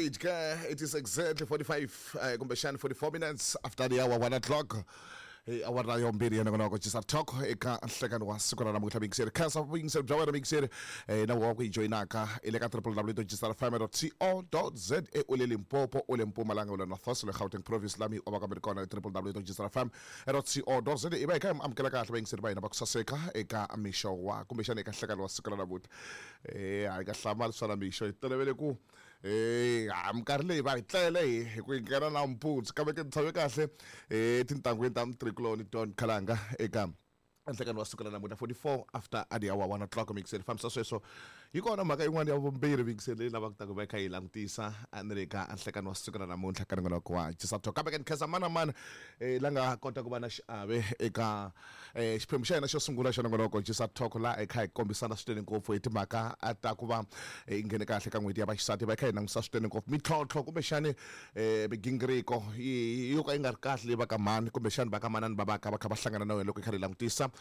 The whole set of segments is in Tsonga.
Right ke, it is exactly 45, kumbexani 44 minutes after the hour 1 o'clock. Hi awara yo mbirhi ya nongonoko Cisa Talk eka nhlekani wa siku ra namuntlha. Miyingiseri, khensa vuyingiseri bya wena miyingiseri, na wa ku yi joyinaka i le ka www.gsrfm.co.za. U le Limpopo, u le Mpumalanga, u le North West, u le Gauteng province, lami u va ka mi ri kona www.gsrfm.co.za. I va hi kha hi amukela kahle vayingiseri va hina va ku saseka eka mixo wa, kumbexana eka nhlekani wa siku ra namuntlha. A hi nga hlamali swa na mixo, hi tolovele ku ha minkarhi leyi va hi tlele hi ku hi nghena nampundzu, kambe ke ni tshame kahle etintangwini ta mutirhikuloni Don Khalanga eka nhlekani wa siku ra namuntlha, 44 after a the hour 1 o'clock. Mixeri fambisa sweswo yi kona mhaka yin'wana ya vumbirhi mixeri leyi lavaka ta ku va yi kha yi langutisa ni le ka nhlekani wa siku ra namuntlha ka nongonoko wa Cisa Talk. Kambe ke ni khensa mani na mani la nga kota ku va na xiave eka xiphemu xa hina xo sungula xa nongonoko Cisa Talk, laha hi kha hi kombisana swinene ngopfu hi timhaka ta ku va hi nghene kahle ka n'hweti ya vaxisati, va kha hi langutisa swinene ngopfu mintlhontlho kumbexani migingiriko yo ka yi nga ri kahle leyi va ka mhani kumbexani va ka manani va va ka va kha va hlangana na yona loko hi kha hi langutisa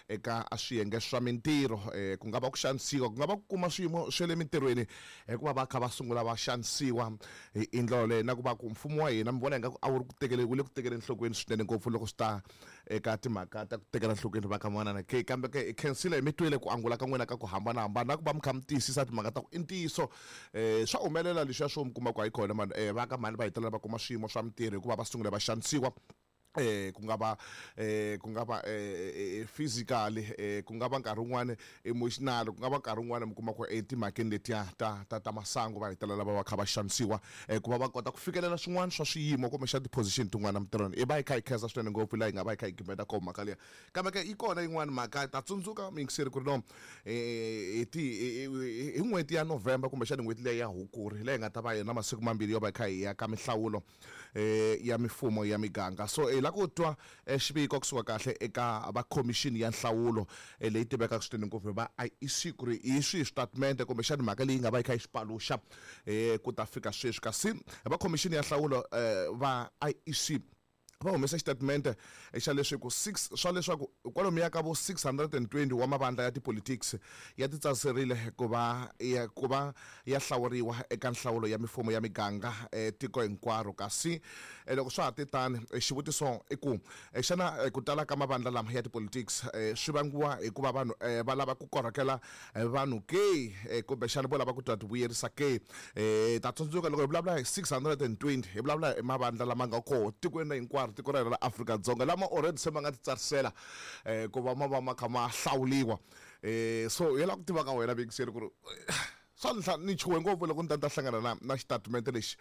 eka swiyenge swa mintirho. Ku nga va ku xanisiwa, ku nga va ku kuma swiyimo swa le mintirhweni hikuva va kha va sungula va xanisiwa hi ndlela yoleyo, na ku va ku mfumo wa hina mi vona ingaku a wu ri ku tekele, wu le ku tekele enhlokweni swinene ngopfu loko swi ta eka timhaka ta ku tekela enhlokweni va ka manana ke. Kambe ke hi khensile, hi mi twile ku angula ka n'wina ka ku hambanahambana, na ku va mi kha mi tiyisisa timhaka ta ku i ntiyiso swa humelela leswiya swo mi kuma ku hayi kona mani, va ka mhani va hetelela va kuma swiyimo swa mintirho hikuva va sungule va xanisiwa, ku nga va physically, ku nga va nkarhi wun'wani emotional, ku nga va nkarhi wun'wani mi kuma ku etimhakeni letiya ta masangu va hetelela va va kha va xanisiwa, ku va va kota ku fikelela swin'wana swa swiyimo kumbexana ti-position tin'wana emintirhweni. I va hi kha hi khensa swinene ngopfu laha hi nga va hi kha hi gimeta kona mhaka liya. Kambe ke yi kona yin'wana mhaka, ta tsundzuka muyingiseri ku ri no hi ti hi n'hweti ya November, kumbexana n'hweti leyi ya Hukuri leyi hi nga ta va hi na masiku mambirhi yo va hi kha hi ya ka minhlawulo ya mifumo ya miganga. So hi lava ku twa xiviko kusuka kahle eka va khomixini ya nhlawulo leyi tivekaka swinene ngopfu va IEC, ku ri hi swihi switatimende kumbexana mhaka leyi nga va yi kha yi xi paluxa ku ta fika sweswi. Kasi va khomixini ya nhlawulo va IEC va humesa xitatimende xa leswaku 6 swa leswaku kwalomuya ka vo 620 wa mavandla ya tipolitics ya titsariserile ku va ya hlawuriwa eka nhlawulo ya mifumo ya miganga tiko hinkwaro. Kasi loko swa ha te tani, xivutiso i ku xana ku tala ka mavandla lama ya tipolitics swi vangiwa hikuva vanhu va lava ku korhokela vanhu ke, kumbexana vo lava ku ta ti vuyerisa ke? Ta tsundzuka loko hi vulavula hi 620, hi vulavula hi mavandla lama nga koho tikweni hinkwaro, tiko ra hina ra Afrika-Dzonga, lama already se ma nga titsarisela ku va ma va ma kha ma hlawuliwa. So hi lava ku tiva ka wena vekiseri ku ri swa ni chuhe ngopfu loko ni ta ni ta hlangana na xitatimende lexi,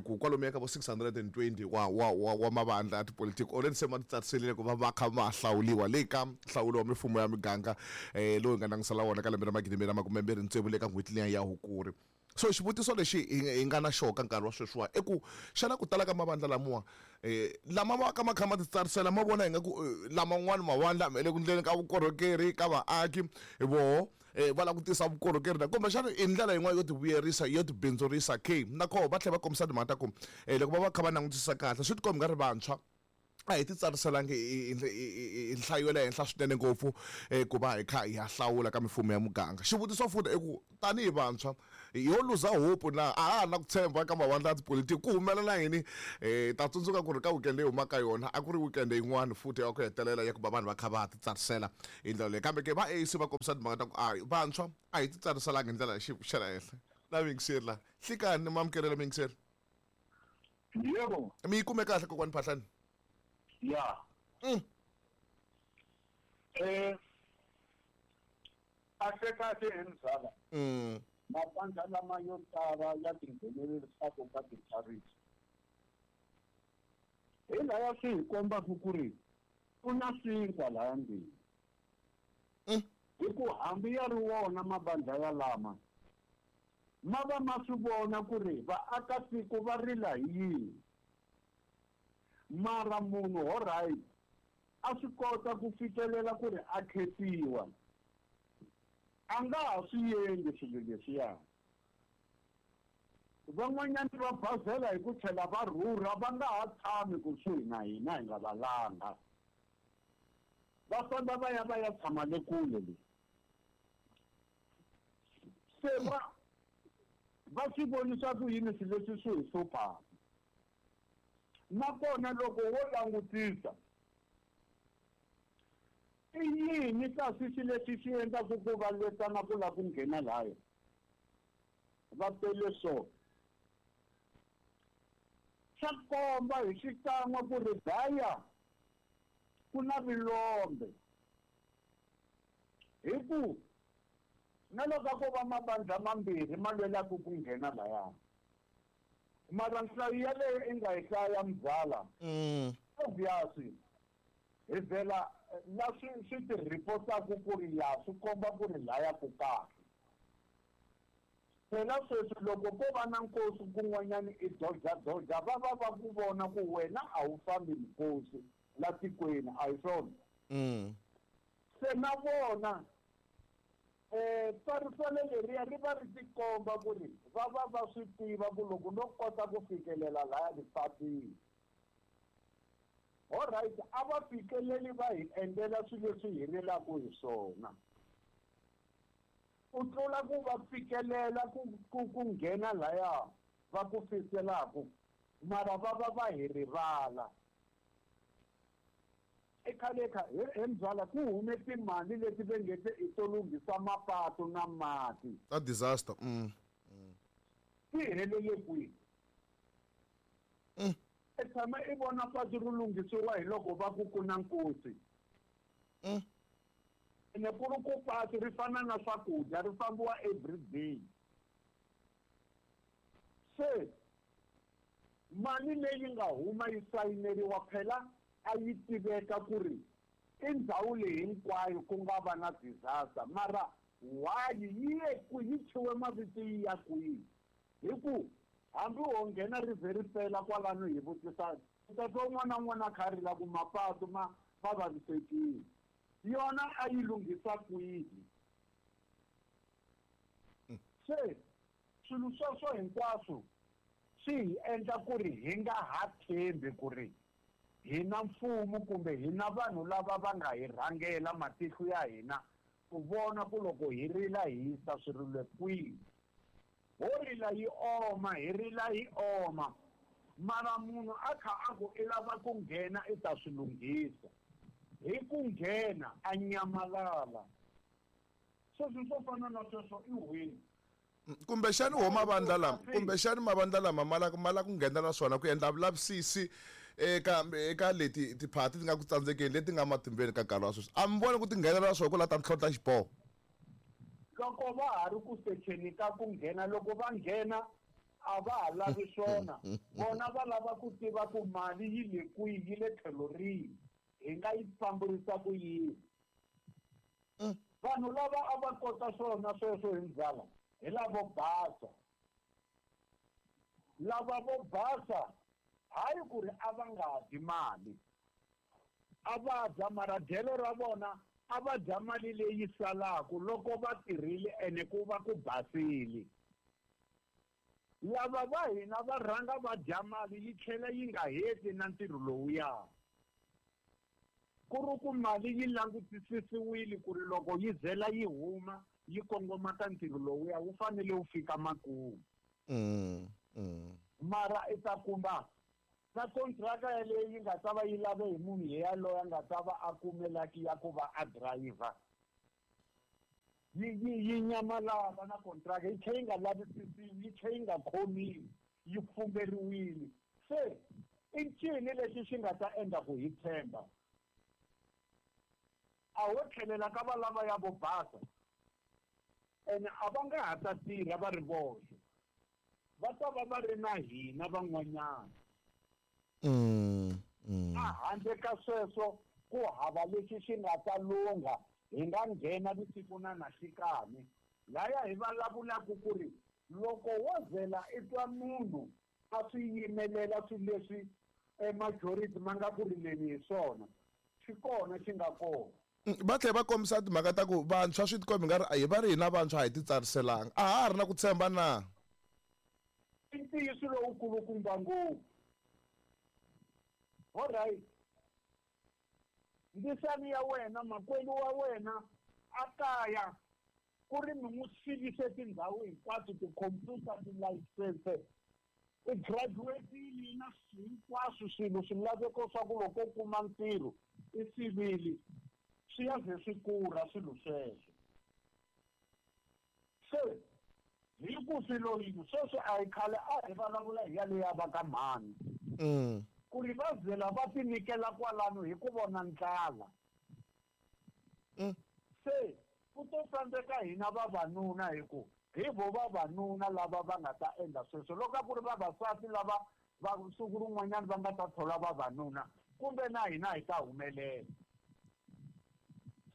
ku kwalomuya ka vo 620 wa mavandla ya tipolitiki already se ma titsariserile ku va va kha ma hlawuliwa le ka nhlawulo wa mifumo ya miganga lowu hi nga langutisela wona ka lembe ra 2026 le ka n'hweti liya ya Hukuri. So xivutiso lexi hi nga na xona ka nkarhi wa sweswiwa i ku xana ku tala ka mavandla lamiwa lama va ka ma kha ma titsarisela, ma vona ingaku laman'wani mavandla ma le ku ndleni ka vukorhokeri ka vaaki, voho va lava ku tisa vukorhokeri na kumbexana i ndlela yin'wana yo ti vuyerisa, yo ti bindzurisa ke? Na koho va tlhela va kombisa timhaka ta ku loko va va kha va langutisa kahle, swi tikomba nga ri vantshwa a hi ti tsariselangi hi nhlayo ya le henhla swinene ngopfu ku va hi kha hi ya hlawula ka mifumo ya muganga. Xivutiso futhi i ku tanihi vantshwa ho luza hope na, a ha ha na ku tshemba ka mavandla ya tipolitiki, ku humelela yini? Ta tsundzuka ku ri ka weekend leyi humaka yona a ku ri weekend yin'wana futhi ya ku hetelela ya ku va vanhu va kha va titsarisela hi ndlela leyi. Kambe ke va ANC va kombisa timhaka ta ku a vantshwa a hi titsariselanga hi ndlela ya xiyimo xa le henhla. Na muyingiseri la hlikani, mamukelelo muyingiseri. Yebo. Mi yi kume kahle kokwani Phahlani? Ya. Kahle kahle hi mzala. Mavandla lama yo tala ya tinghenelerisaka ka titsarisa. Hi laya swi hi kombaka ku ri ku na swinkwa laya ndzeni. Hi ku hambi ya ri wona mavandla ya lama ma va ma swi vona ku ri vaakatiko va rila hi yini, mara munhu ho right a swi kota ku fikelela ku ri a khetiwa, a nga ha swi endli swilo leswiya. Van'wanyana va bazela hi ku tlhela va rhurha, va nga ha tshami kusuhi na hina hi nga valanga, va famba va ya va ya tshama le kule le. Se va Va swi vonisa ku yini swilo leswi swi hi hluphaka? Nakona loko wo langutisa, i yini kasi xilo lexi xi endlaku ku va lwetana ku lava ku nghena laya? Va tele so. Swa komba hi xikan'we ku ri laya ku na vilombe. Hi ku na loko a ko va mavandla mambirhi ma lwelaka ku nghena laya, mara nhlayo yaleyo i nga yi hlaya mzala, obvious hi vhela la swi ti reportaku ku ri ya swi komba ku ri laya ku kahle. Phela sweswi loko ko va na nkosi kun'wanyani i doja-doja, va va va ku vona ku wena a wu fambi nkosi la tikweni, a hi swona? Se na vona tsariselo leriya ri va ri tikomba ku ri va va va swi tiva ku loko no kota ku fikelela laya ni fambile. Alright, a va fikeleli va hi endlela swilo leswi hi rilaka hi swona. Ku tlula ku va fikelela ku nghena laya va ku fiselaku, mara va va va hi rivala. I khale kha he mzala ku hume timali leti va nge te i to lunghisa mapatu na mati. Ta disaster. Ti helele kwihi? I tshama i vona patu ri lunghisiwa hi loko va ku ku na nkosi. Ene ku ri ku patu ri fana na swakudya, ri fambiwa every day. Se mali leyi nga huma yi sayineriwa phela a yi tiveka ku ri i ndhawu leyi hinkwayo ku nga va na disaster, mara why yi ye kwihi, yi thyiwe mavito yi ya kwihi? Hi ku hambi wo nghena ri ze ri pela kwalano hi vutisa, u ta twa un'wana na un'wana a kha a rila ku mapatu ma vavisekile. Yona a yi lunghisa kwihi? Se swilo sweswo hinkwaswo swi hi endla ku ri hi nga ha tshembi ku ri hi na mfumo kumbe hi na vanhu lava va nga hi rhangela matihlo ya hina ku vona ku loko hi rila hi yisa swirilo kwihi. Ho rila yi oma, hi rila yi oma, mara munhu a kha a ku i lava ku nghena i ta swi lunghisa, hi ku nghena a nyamalala. Sweswi swo fana na sweswo i wini? Kumbexani wo mavandla lama, kumbexani mavandla lama ma la ku nghenela swona ku endla vulavisisi eka leti tiphati ti nga ku tsandzekeni leti nga matimbeni ka nkarhi wa sweswi. A mi voni ku ti nghenela swona ku la ta ntlhontlha xiboho? Loko va ha ri ku secheni ka ku nghena, loko va nghena a va ha lavi swona. Vona va lava ku tiva ku mali yi le kwihi, yi le tlhelo rihi, hi nga yi fambisa ku yini. Vanhu lava a va kota swona sweswo hi ndzala hi lavo basa. Lava vo basa hayi ku ri a va nga dyi mali, a va dya mara dyelo ra vona a va dya mali leyi salaka loko va tirhile ene ku va ku basile. Lava va hina va rhanga va dya mali yi tlhela yi nga heti na ntirho lowuya. Ku ri ku mali yi langutisisiwile ku ri loko yi zela yi huma yi kongoma ka ntirho lowuya wu fanele wu fika makumu. Mara i ta kuma na kontraka yaleyo yi nga ta va yi lave hi munhu yaloye a nga ta va a kumelaki ya ku va a driver. Yi nyamalala na kontraka, yi tlhela yi nga lavisisiwi, yi tlhela yi nga khomiwi, yi pfumberiwile. Se i ncini lexi xi nga ta endla ku hi tshemba? A ho tlhelela ka valava ya vo basa, ene a va nga ha ta tirha va ri voxe, va ta va va ri na hina van'wanyana. A handle ka sweswo ku hava lexi xi nga ta lungha, hi nga nghena vusiku na nhlikani. Laya hi vulavulaka ku ri loko wo zela i twa munhu a swi yimelela swilo leswi majority ma nga ku rileni hi swona, xi kona xi nga kona. Va tlhela va kombisa timhaka ta ku vantshwa swi tikomba nga ri a hi va ri hina vantshwa a hi titsariselanga, a ha ha ri na ku tshemba na? I ntiyiso lowukulukumba ngopfu. Alright, ndisani ya wena makwenu wa wena a kaya Ku ri mi n'wi sivise tindhawu hinkwato tikhompyuta tilayisense i graduate-ile na hinkwaswo swilo swilaveko swa ku loko u kuma ntirho i sivile swi ya ze swi kula swilo sweswo se hi ku swilo yini sweswi a hi khale a hi vulavula hi yaleya va ka mhani ku ri va zela va tinyikela kwalano hi ku vona ndlala se ku to tsandzeka hina vavanuna hi ku hi vo vavanuna lava va nga ta endla sweswo loko a ku ri vavasati lava va siku rin'wanyana va nga ta thola vavanuna kumbe na hina hi ta humelela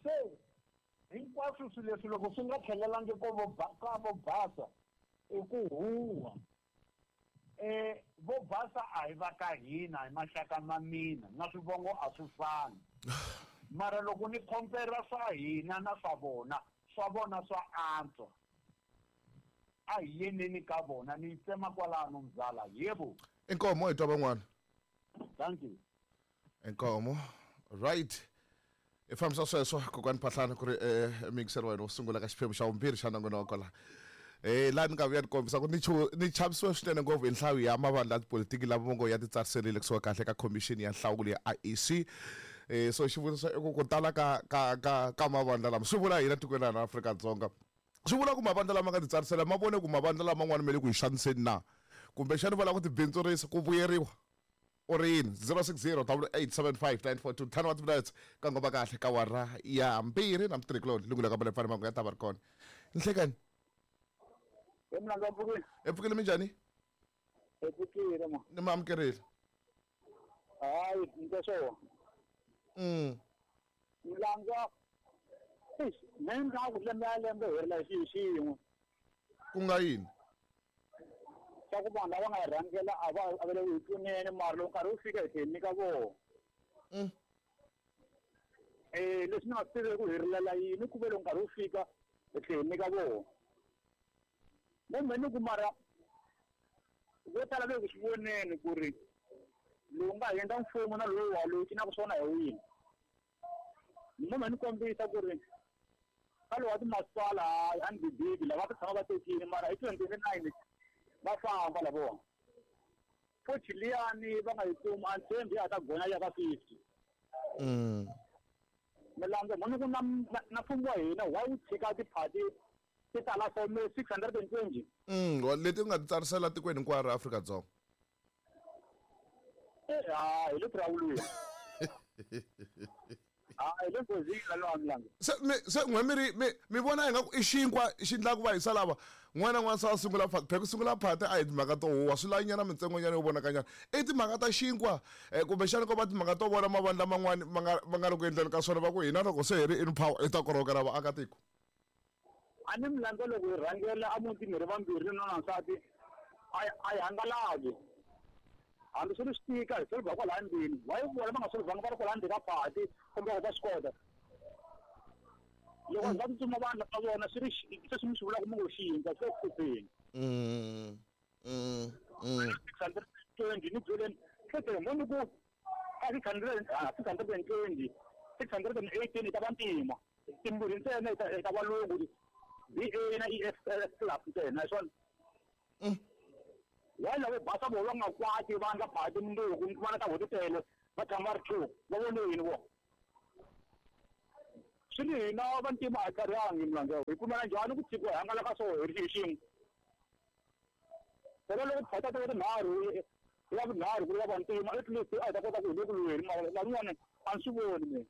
se hinkwaswo swilo leswi loko swi nga tlhelelangi ka vo basa i ku huwa vo basa a hi va ka hina hi maxaka ma mina na swivongo a swi fani mara loko ni compare swa hina na swa vona swa antswa a hi yeneni ka vona ni yi tsema kwalano mzala yebo inkomo hi twa van'wana thank you inkomo right i fambisa sweswo kokwani Phahlane ku ri miyingiseri wa wena wo sungula ka xiphemu xa vumbirhi xa nongonoko laha laha ni nga vuya ni kombisa ku ni chavisiwe swinene ngopfu hi nhlayo ya mavandla ya tipolitiki lava ngo ya titsariserile kusuka kahle ka khomixini ya nhlawulo ya IEC so xivutiso i ku ku tala ka mavandla lama swi vula hina tikweni ra Afrika-Dzonga swi vula ku mavandla lama nga titsarisela ma vone ku mavandla laman'wana ma le ku hi xaniseni na kumbexani va lava ku tibindzurisa ku vuyeriwa u ri yini 060 8875942 10 wa minutes ka ngoma kahle ka wara ya 2 na mutirhikuloni lungula ka Malephane mangu ya ta va ri kona nhlekani e pfukile minjhani e pfukile ma ni ma amukerile hayi ntoso mlanga me nga ku lembe ya lembe hi ri la xiyin'we ku nga yini swa ku vanhu lava nga hi rhangela a va avele hi pfuneni mara loko nkarhi wu fika hi tlhela nyika vona leswi ni nga swi tiveki ku hi rilela yini ku ve loko nkarhi wu fika hi tlhela nyika vona mo ni ku mara vo tala ve ku swi voneni ku ri lowu nga endla mfumo na lowu wa lowu cinaka swona hi wini mo ni kombisa ku ri ka lowu wa timasipala a ni bibibi lava va tshama va tekile mara hi 2029 va famba lavona futhi liyani va nga yi kumi a ni tshembi ya ta gonya ya ka 50 milandzu mo ni ku na mfumo wa hina why wu tshika tiphati ti tala so me 620 leti u nga ti tsarisela tikweni hinkwaro ra Afrika-Dzonga hi le tirawulweni hi le nghozini lalowa milandzu se n'we mi ri mi vona ingaku i xinkwa xi endlaka va hisa lava n'wana n'wana se a sungula phati ku sungula phati a hi timhaka to huwa swi lanyana mitsengonyana yo vonakanyana i timhaka ta xinkwa kumbexana ko va timhaka to vona mavandla man'wani ma nga ri ku endleni ka swona va ku hina loko se hi ri in power hi ta korhokela vaakatiko a ni milandzu loko hi rhangela a mutini hi ri vambirhi nuna nsati a hi hangalaki hambi swi ri swi tika hi solvha kwalaya ndlwini why vona va nga solvhanga va ri kwalaya ndzeni ka phati kumbe va swi kota loko va tsutsuma vanhu va vona swi ri sweswi mi swi vulaka mi ngo xinkwa swi le ku hlupheni 620 ni byeleni hlete mo ni ku a 620 618 ta vantima timbirhi ntsena ta valungu BA na EF club ntsena hi swona why lavo basa vo va nga kwati va nga phati mundzuku vana ta vona tele va tshama va ri two va vone yini vo swi ri hina vantima a hi tlharihangi milandzu hi pfumela njhani ku tshikiwa hi hangalaka so hi ri xin'we phela loko phata ta tinharhu ya vunharhu ku ri ya vantima at least a hi ta kota ku hi le ku lweni mara van'wana a ni swi voni mina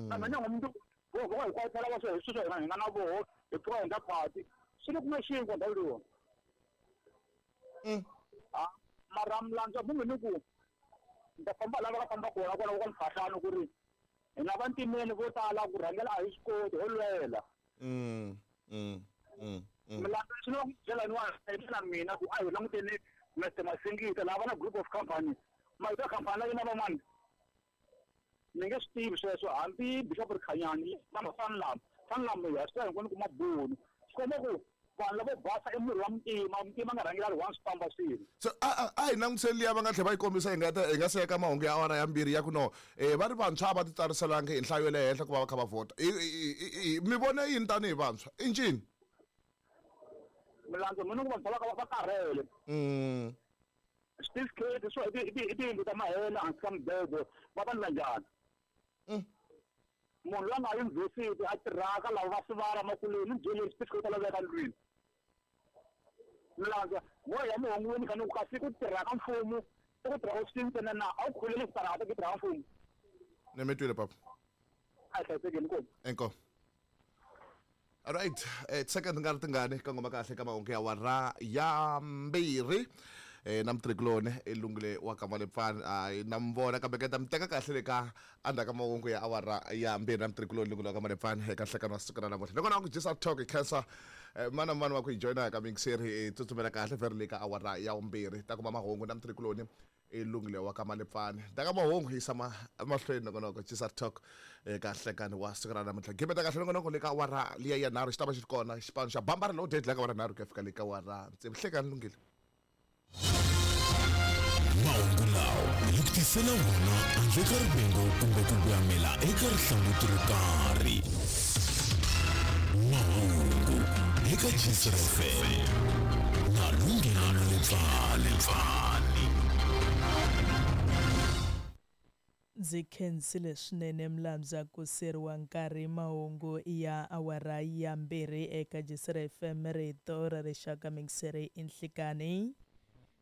na mina ngo mundzuku vo va hi kwatela va swo hi sweswo hina hi nga na voho hi pfuka hi endla phati swi le ku na xinkwa ndhawu leyiwani mara milandzu munhu ni ku ni ta famba lava va famba kona kwalaho ka Mphahlano ku ri hina vantimeni vo tala ku rhangela a hi swi koti ho lwela milandzu swi lava ku byela ni mina ku a hi languteni Mr Masingita lava na group of company mavito ya khampani la yena van'wana ni nge swi tivi sweswo hambi Bishop Rikhanyani va Sanlam Sanlam ya swi tiva hinkwenu ku mabunu swi komba ku Vanhu lavo basa i murhi wa muntima, muntima nga rhangela ri one swi famba swilo. So a hi langutiseni liya va nga tlhela va yi kombisa hi nga ta hi nga se ya ka mahungu ya awara ya mbirhi ya ku no va ri vantshwa a va ti tsariselangi hi nhlayo ya le henhla ku va va kha va vhota. Mi vone yini tanihi vantshwa? I ncini? Milandzu mina ku vantshwa va ka va karhele. Switifiketi swo i tiyindlu ta mahela hansi ka mibedo va va endla njhani? Munhu loyi a nga yunivhesiti a tirhaka lava va sivara makuleni ni byeleni xitifiketi ta laveka ndlwini. Milandzu mo ya muhungwini kha ni ku kasi ku tirha ka mfumo i ku tirha ofisini ntsena na a wu khuleli switarata ku tirha ka mfumo. Ni mi twile papa. A hi hlayisekeni inkomu. Inkomu. Alright, second nga ri tingani ka ngoma kahle ka mahungu ya wara ya mbirhi na mutirhikuloni i Lungile wa ka Malepfani hayi na mi vona kambe ke ta mi teka kahle le ka endzhaku ka mahungu ya awara ya mbirhi na mutirhikuloni Lungile wa ka Malepfani eka nhlekani wa siku ra namuntlha nakona ku dyisa talk hi khensa mani na mani wa ku hi joyina ka miyingiseri hi tsutsumela kahle vheri le ka awara ya vumbirhi ta kuma mahungu na mutirhikuloni i Lungile wa ka Malepfani ta ka mahungu yisa mahlweni nongonoko Chisar Talk eka nhlekani wa siku ra namuntlha gimeta kahle nongonoko le ka awara liya ya nharhu xi ta va xi ri kona xipano xa bambara lowu dead la ka awara nharhu ku ya fika le ka awara tsevu hlekani Lungile. Mahungu lawa hi ku tisela wona handle ka rivengo kumbe ku voyamela eka rihlanguti ro karhi. Mahungu eka Jisr FM na Lungile Malepfani. Ndzi khensile swinene Mlambya ku siyeriwa nkarhi mahungu ya awara ya mbirhi eka Jisira FM rito ra rixaka mixere i nhlikani.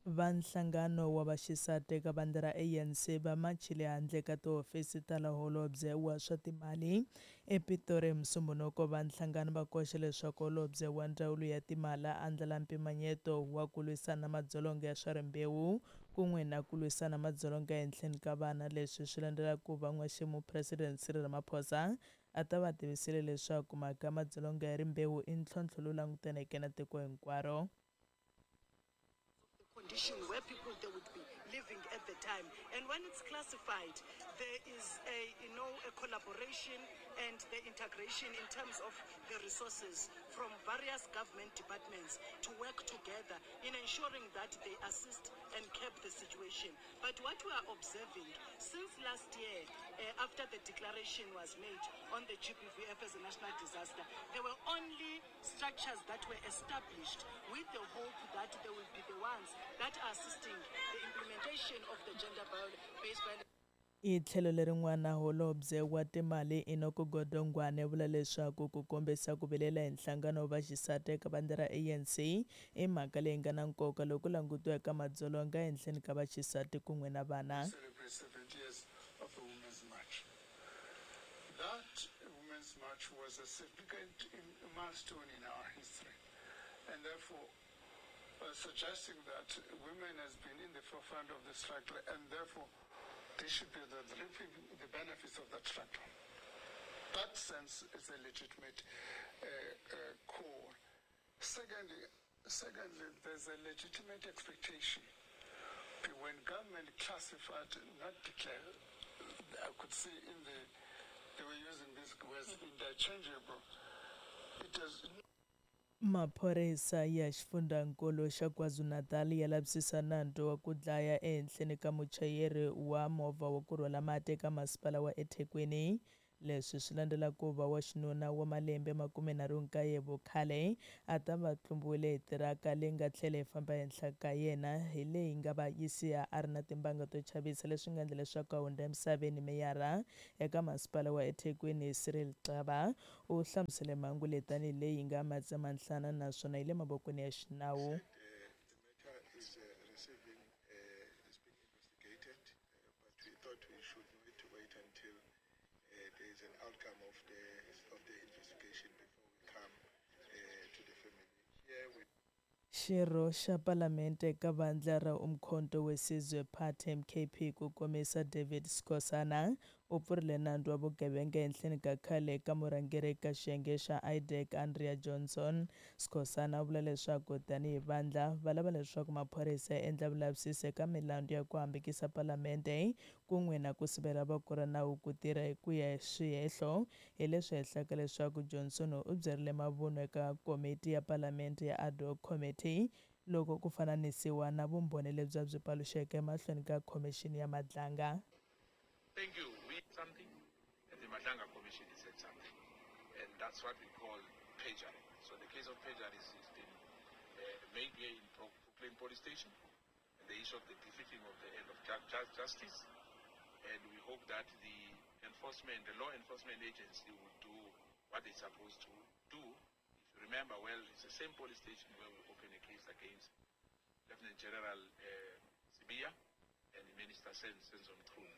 Va nhlangano wa vaxisati eka vandla ra ANC va machile handle ka tihofisi ta la holobye wa swa timali ePitori hi Musumbhunuko. Va nhlangano va koxe leswaku holobye wa ndzawulo ya timali a andlala mpimanyeto wa ku lwisana na madzolonga ya swa rimbewu kun'we na ku lwisana madzolonga ehenhleni ka vana. Leswi swi landzela ku va n'waxemu President Cyril Ramaphosa a ta va tivisile leswaku mhaka ya madzolonga ya rimbewu i ntlhontlho lowu langutaneke na tiko hinkwaro. Condition where people they would be living at the time, and when it's classified there is a you know a collaboration and the integration in terms of the resources from various government departments to work together in ensuring that they assist and curb the situation. But what we are observing since last year, after the declaration was made on the GBVF as a national disaster, there were only structures that were established with the hope that they will be the ones that are assisting the implementation of the gender-based violence. Hi tlhelo lerin'wana, holobye wa timali Enoch Godongwana vula leswaku ku kombisa ku vilela hi nhlangano wa vaxisati eka vandla ra ANC i mhaka leyi nga na nkoka loko ku langutiwa eka madzolonga ehenhleni ka vaxisati kun'we na vana. Celebrate 70 years of the Women's March. That Women's March was a significant milestone in our history, and therefore suggesting that women has been in the forefront of the struggle, and therefore they should be reaping the benefits of that struggle. That sense is a legitimate call. Secondly, there's a legitimate expectation. When government classified, not declared, I could see in the, they were using these words interchangeable. It does. Maphorisa ya xifundzankulu xa KwaZulu-Natal ya lavisisa nandzu wa ku dlaya ehenhleni ka muchayeri wa movha wa ku rhwala mati eka masipala wa eThekwini. Leswi swi landzela ku va wa xinuna wa malembe 39 vukhale a ta va tlumbiwile hi tiraka leyi nga tlhela yi famba ehenhla ka yena hi leyi nga va yi siya a ri na timbanga to chavisa, leswi nga endla leswaku a hundza emisaveni. Meyara eka masipala wa eThekwini Cyril Xaba u hlamusele mhangu leyi tanihi leyi nga matsemanhlana naswona yi le mavokweni ya xinawu. There is an outcome of the investigation before we come to the family. Here we Xirho xa Palamente ka vandla ra Umkhonto weSizwe Party MKP ku komisa David Skosana U pfurile nandzu wa vugevenga ehenhleni ka khale ka murhangeri ka xiyenge xa IDAC Andrea Johnson. Skhosana u vula leswaku tanihi vandla va lava leswaku maphorisa ya endla vulavisisi eka milandzu ya ku hambukisa palamende kun'we na ku sivela voko ra nawu ku tirha hi ku ya hi swihehlo hi leswi hehlaka leswaku Johnson u byerile mavunwa eka komiti ya palamende ya ad hoc committee loko ku fananisiwa na vumbhoni lebyi a byi paluxeke emahlweni ka khomixini ya Madlanga. Thank you. We something, and the Madlanga Commission said something, and that's what we call perjury. So the case of perjury has been made here in Brooklyn Police Station, and the issue of the defeating of the end of justice, and we hope that the law enforcement agency will do what they're supposed to do. If you remember well, it's the same police station where we opened a case against Lieutenant General Sibiya and the Minister Senzo Mchunu.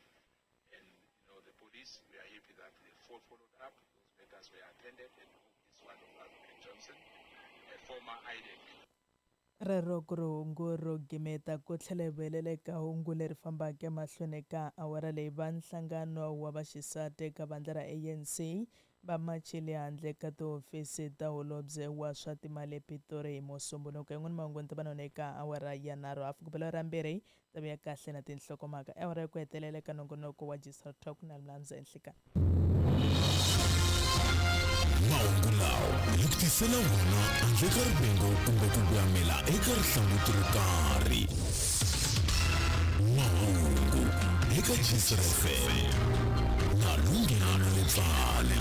And you know, the police, we are happy that they followed up. Those matters were attended, and we hope this one of Advocate Johnson, a former IDEC. Rero ku ri hungu ro gimeta ku tlhela hi vuyelela eka hungu leri fambaka emahlweni ka awara leyi. Va nhlangano wa vaxisati eka vandla ra ANC va machile handle ka tihofisi ta holobye wa swa timali ePitori hi Musumbhunuko. Yin'wana mahungu ni ta va na eka awara ya 3 hafu ku bela ra 2 ta vuya kahle na tinhlokomhaka. Awara ya ku hetelela eka nongonoko wa Giselle Talk na Mlamza Enhlekani. Mahungu lawa hi ku tisela wona handle ka rivengo kumbe ku voyamela eka rihlanguti ro karhi. Mahungu eka Giselle FM na Lunghelo Letsane.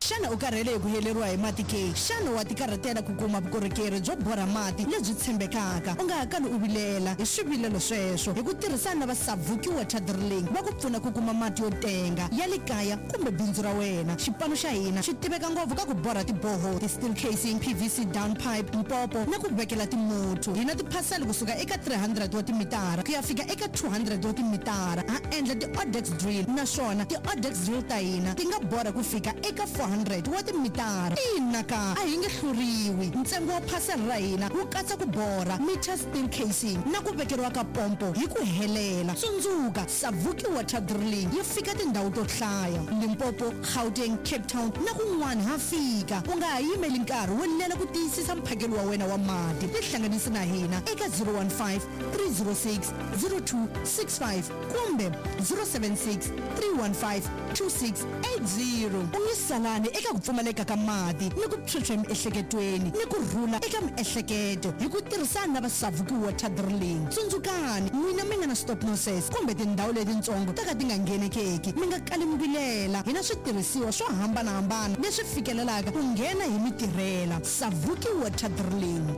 Xana u karhele hi ku heleriwa hi mati ke? Xana wa tikarhatela ku kuma vukorhokeri byo borha mati lebyi tshembekaka? U nga ha kali u vilela hi swivilelo sweswo hi ku tirhisana na va Savuki Water Drilling va ku pfuna ku kuma mati yo tenga ya le kaya kumbe bindzu ra wena. Xipano xa hina xi tiveka ngopfu ka ku borha tiboho, ti-steel casing, PVC down pipe, mpopo na ku vekela timuthu. Hi na tiphasela kusuka eka 300 wa timitara ku ya fika eka 200 wa timitara. Ha endla ti-odex drill naswona ti-odex drill ta hina ti nga borha ku fika eka 400 wa timitara. Ina ka a hi nge hluriwi. Ntsengo wa phasela ra hina wu katsa ku borha meter steel casing na ku vekeriwa ka pompo hi ku helela. Tsundzuka, Savuki Water Drilling yi fika tindhawu to hlaya: Limpopo, Gauteng, Cape Town na kun'wana ha fika. U nga ha yimeli nkarhi wo lela ku tiyisisa mphakelo wa wena wa mati. Tihlanganisi na hina eka 015 306 0265 kumbe 076 315 2680. U nge salani eka ku pfumaleka ka mati ni ku phyuphya emiehleketweni ni ku rhula eka miehleketo hi ku tirhisana na va Savuki Water Drilling. Tsundzukani, n'wina mi nga na stop nonsense kumbe tindhawu letitsongo ta ka ti nga nghenekeki, mi nga kali mi vilela. Hi na switirhisiwa swo hambanahambana leswi fikelelaka ku nghena hi mitirhela. Savuki Water Drilling.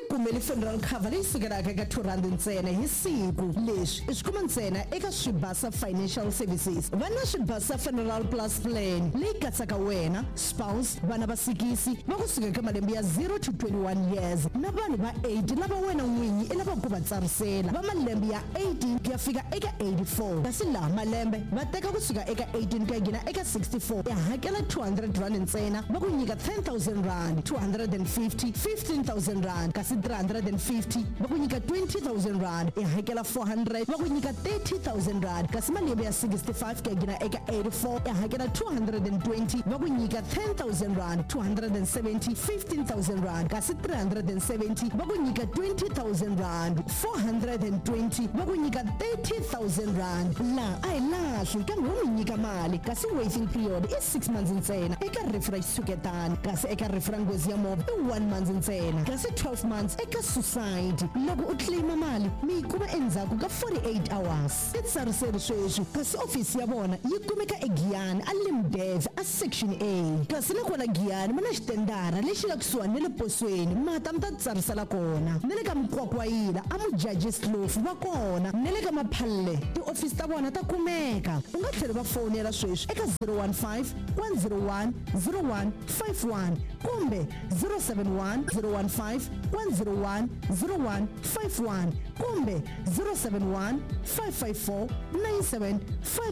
Kumele funeral cover leyi sukelaka eka 2 rand ntsena hi siku. Leswi i swi kuma ntsena eka Swibasa Financial Services. Va na Swibasa Funeral Plus Plan leyi katsaka wena, spouse, vana va sikisi va kusuka eka malembe ya 0 to 21 years na vanhu va 80 lava wena n'winyi i lavaka ku va tsarisela va malembe ya 18 ku ya fika eka 84. Kasi laha malembe va teka kusuka eka 18 ku ya nghena eka 64. I hakela 200 rand ntsena, va ku nyika 10,000 rand, 250, 15,000 rand, kasi 350 va ku nyika 20,000 rand. I hakela 400 va ku nyika 30,000 rand. Kasi malembe ya 65 ku ya nghena eka 84 i hakela 220 va ku nyika 10,000 rand, 270, 15,000 rand, kasi 370 va ku nyika 20,000 rand, 420 va ku nyika 30,000 rand. La a hi lahli kambe wo mi nyika mali, kasi waiting period i 6 months ntsena eka rifu ra xitshuketani, kasi eka rifu ra nghozi ya movha i 1 month ntsena, kasi 12 months eka suicide. Loko u claima mali mi yi kuma endzhaku ka 48 hours. Titsariseri sweswi, kasi ofisi ya vona yi kumeka eGiyani a Limdev a section A. Kasi na kwala Giyani ma na xitendara lexi nga kusuhani na le posweni, mata mi ta tsarisela kona. Na le ka Mkwakwayila a Mujajis Kloof va kona, na le ka Maphalle tiofisi ta vona ta kumeka. U nga tlhela va fonela sweswi eka 015 101 0151 kumbe 071 015 101 0151 kumbe 071 554 97